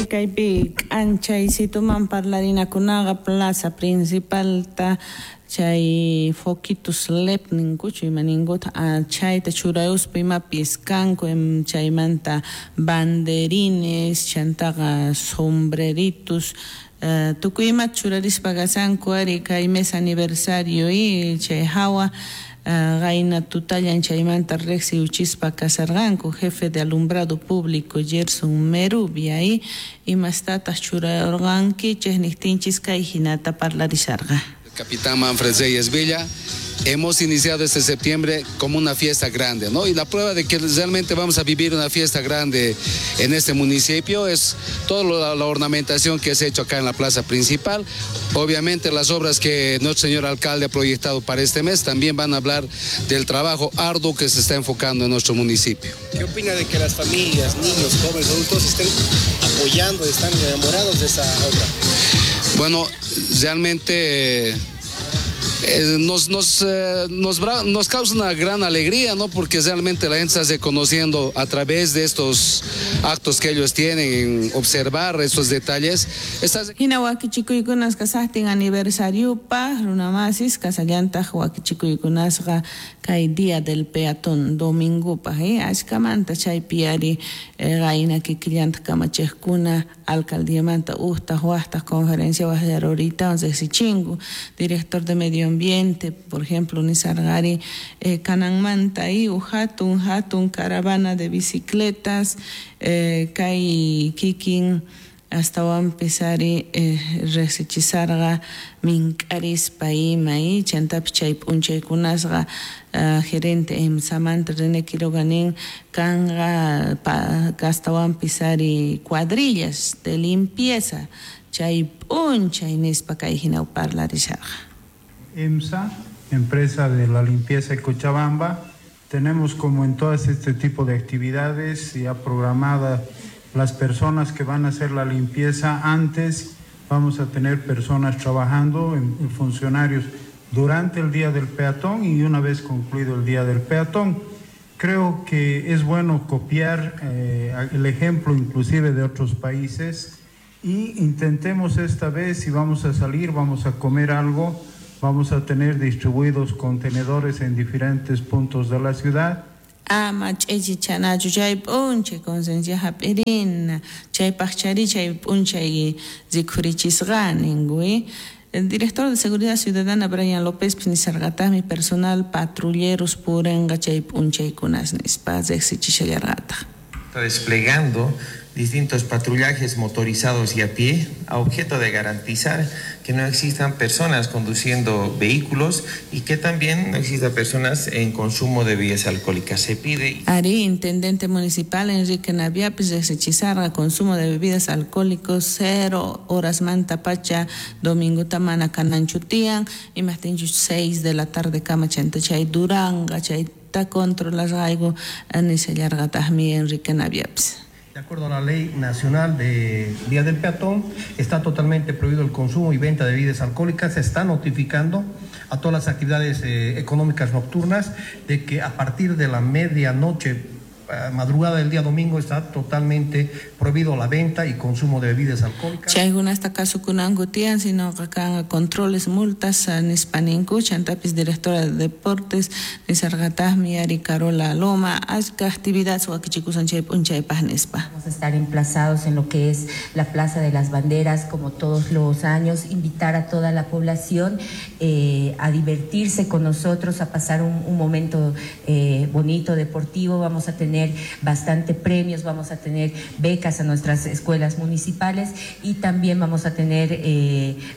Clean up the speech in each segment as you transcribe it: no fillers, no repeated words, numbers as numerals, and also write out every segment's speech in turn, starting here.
Kaypi k'anchaysituman parlarinakunaqa plaza principalta chay foquitos LED ninkuchu ima ninkuta chayta churayuspa imapis kanku, chaymanta banderines chantaqa sombreritos tukuy imata churarispa kashanku ari kay mes aniversario chay hawa qayna tutallan chaymanta riqsiwchispa kasharqanku jefe de alumbrado público Gerson Merubia imastataq churarqankichej niqtinchis kay hinata parlarisharqa. Capitán Manfred Reyes Villa, hemos iniciado este septiembre como una fiesta grande, ¿no? Y la prueba de que realmente vamos a vivir una fiesta grande en este municipio es toda la ornamentación que se ha hecho acá en la plaza principal. Obviamente las obras que nuestro señor alcalde ha proyectado para este mes también van a hablar del trabajo arduo que se está enfocando en nuestro municipio. ¿Qué opina de que las familias, niños, jóvenes, adultos estén apoyando, están enamorados de esa obra? Bueno, realmente nos causa una gran alegría, ¿no? Porque realmente la gente se hace conociendo a través de estos actos que ellos tienen, en observar estos detalles. Hina wakichikuykunasqa kasajtin aniversariopaj runamasis kasallantaq wakichikuykunasqa kay día del peatón domingopaj, ashkamanta chaypi ari qayna kikillantaq kamachejkuna alcaldiamanta ujtaj wajtaj conferencia wajyaruritawan riqsichinku director de medio ambiente, por ejemplo, nisarqari kananmanta hatun hatun caravana de bicicletas kay kikin astawanpis ari riqsichisarqa mink'arispa ima chantapis chay p'unchaykunasqa gerente EMSAmanta René Quiroga nin kanqa astawanpis ari cuadrillas de limpieza chay p'unchay nispa kay hina parlarisharqa. EMSA, empresa de la limpieza de Cochabamba, tenemos como en todas este tipo de actividades ya programadas las personas que van a hacer la limpieza antes, vamos a tener personas trabajando, en funcionarios durante el día del peatón y una vez concluido el día del peatón. Creo que es bueno copiar el ejemplo inclusive de otros países y intentemos esta vez, si vamos a salir, vamos a comer algo, vamos a tener distribuidos contenedores en diferentes puntos de la ciudad. Ama ch'ichichanachu chay p'unchay conciencia hap'irina chaypaqchari chay p'unchay rikhurichisqa ninku. El director de Seguridad Ciudadana Brian López nisarqataqmi personal patrulleros purinqa chay p'unchaykunas nispa riqsichishallarqataq. Está desplegando distintos patrullajes motorizados y a pie a objeto de garantizar que no existan personas conduciendo vehículos y que también no existan personas en consumo de bebidas alcohólicas. Se pide... Ari, intendente municipal Enrique Naviapis riqsichisarqa consumo de bebidas alcohólicos 0 horas manta pacha domingo tamana kananchutian imaqtinchus 6 de la tarde kama chanta chay duranga chayta controlasqayku nishallarqataqmi Enrique Naviapis. De acuerdo a la Ley Nacional de Día del Peatón, está totalmente prohibido el consumo y venta de bebidas alcohólicas. Se está notificando a todas las actividades económicas nocturnas de que a partir de la medianoche, madrugada del día domingo, está totalmente prohibido la venta y consumo de bebidas alcohólicas. Chaykunasta kasukunanku tiyan, sino kanqa controles, multas nispa ninku. Chantapis directora de deportes nisarqataqmi ari Carola Loma achka actividades wakichikusan chay p'unchaypaq nispa. Vamos a estar emplazados en lo que es la Plaza de las Banderas, como todos los años, invitar a toda la población a divertirse con nosotros, a pasar un momento bonito, deportivo. Vamos a tener bastante premios, vamos a tener becas a nuestras escuelas municipales y también vamos a tener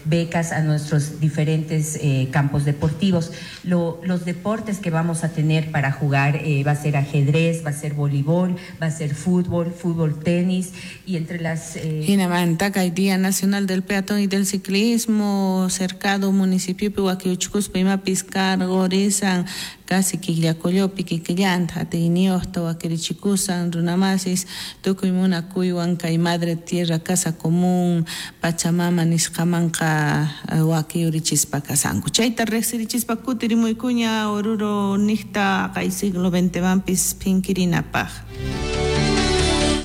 becas a nuestros diferentes campos deportivos. Los deportes que vamos a tener para jugar va a ser ajedrez, va a ser voleibol, va a ser fútbol, fútbol tenis y entre las... Hinamanta kay Día Nacional del Peatón y del Ciclismo, cercado municipio wakiuchkuspa imapis cargorisan casi killakollopi kikillanta atiyniyuqta wakirichikusan runamasis tukuy munakuywan kay madre tierra casa común Pachamama nisqamanqa wakiyurichispa kasanku. Chayta riqsirichispa kutirimuykuña Oruro niqta kay siglo XX manpis phinkirinapaq.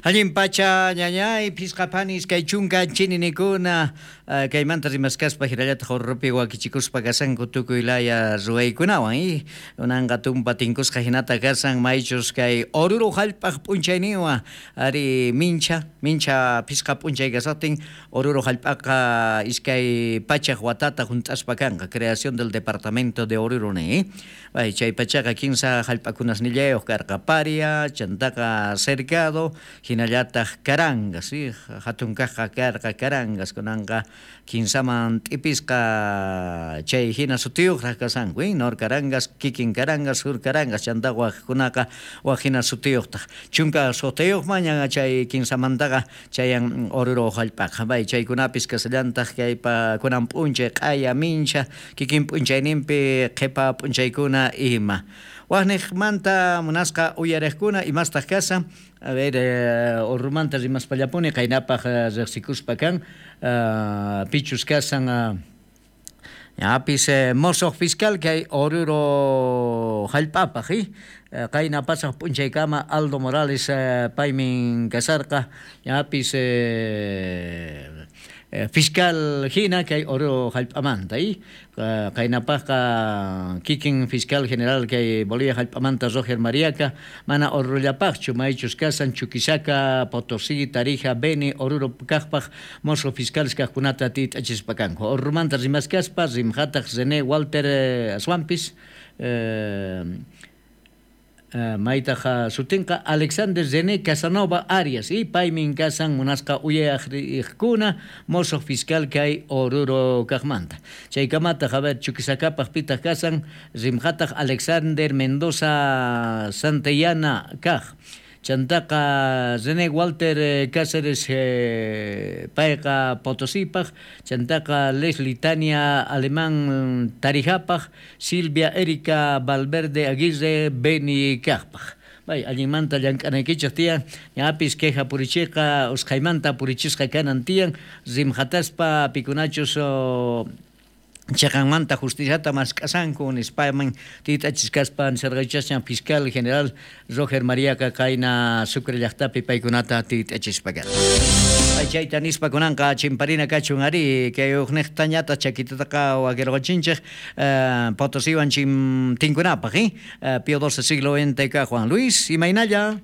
Allin pacha ñañay phisqa phani iskay chunka chininikuna kaymanta rimaskaspa hinallataq Oruropi wakichikuspa kasanku tukuy laya ruwaykunawan y unanqa tumpa tinkusqa hinata kasan maychus kay Oruro hallp'aq p'unchayninwan ari mincha mincha phisqa p'unchay kasaqtin Oruro hallp'aqa iskay pachaq watata hunt'aspa kanqa creación del departamento de Oruro ni bay chay pachaqa kinsa hallp'akunasnillayuq karqa Paria chantaqa Cercado hinallataq Carangas ¿sí? Hatun kaqqa karqa Carangas kunanqa kinsaman t'ipisqa chay hina sutiyuqraq kasanku Nor Carangas, kikin Carangas, Sur Carangas chanta waqkunaqa waq hina sutiyuqtaq chunka suqtayuqman ña chay kinsamantaqa chayan Oruro hallp'aqa bay chaykunapis kasallantaq kaypa kunan p'unchay q'aya mincha kikin p'unchayninpi qhipa p'unchaykuna ima waqniqmanta munasqa uyariqkuna imastaq kasan a ver Oruromanta rimaspallapuni qaynapaq riqsikuspa kan pichus kasan ñapis mosoq fiscal kay Oruro hallp'apaq qayna pasaq p'unchaykama Aldo Morales paymin kasarqa ñapis fiscal hina kay Oruro hallp'amanta qaynapaqqa kikin fiscal general kay Bolivia hallp'amanta Roger Mariaca mana Orurollapaqchu maychus kasan Chuquisaca, Potosí, Tarija, Beni, Oruro kaqpaq mosoq fiscales kaqkunata tit'achispa kanku Oruromanta rimaskaspa rimqataq René Walter aswanpis maytaq sutinqa Alexander René Casanova Arias y paymin kasan munasqa uyariqkuna mosoq fiscal kay Oruro kaqmanta chaykamataq a ver Chuquisacapaq pitaq kasan rimqataq Alexander Mendoza Santillana kaq chantaqa René Walter Cáceres payqa Potosípaq chantaqa Leslie Tania Alemán Tarijapaq Silvia Erika Valverde Aguirre Beni kaqpaq bay allinmanta llank'anaykichik tiyan ñapis queja purichiqa usqhaymanta purichisqa kanan tiyan rimqataspa pikunachus chaqanmanta justiciata mask'asanku nispaman tit'achiskaspa nisarqaychasñan fiscal general Roger Mariaca qayna Sucre llaqtapi paykunata tit'achispa karqa. Chayta nispa kunanqa chimparina kachun ari kay uqniqtañata chakitataqa wakirqachinchik Potosiwan tinkunapaq Pío XII siglo XX Juan Luis imaynalla.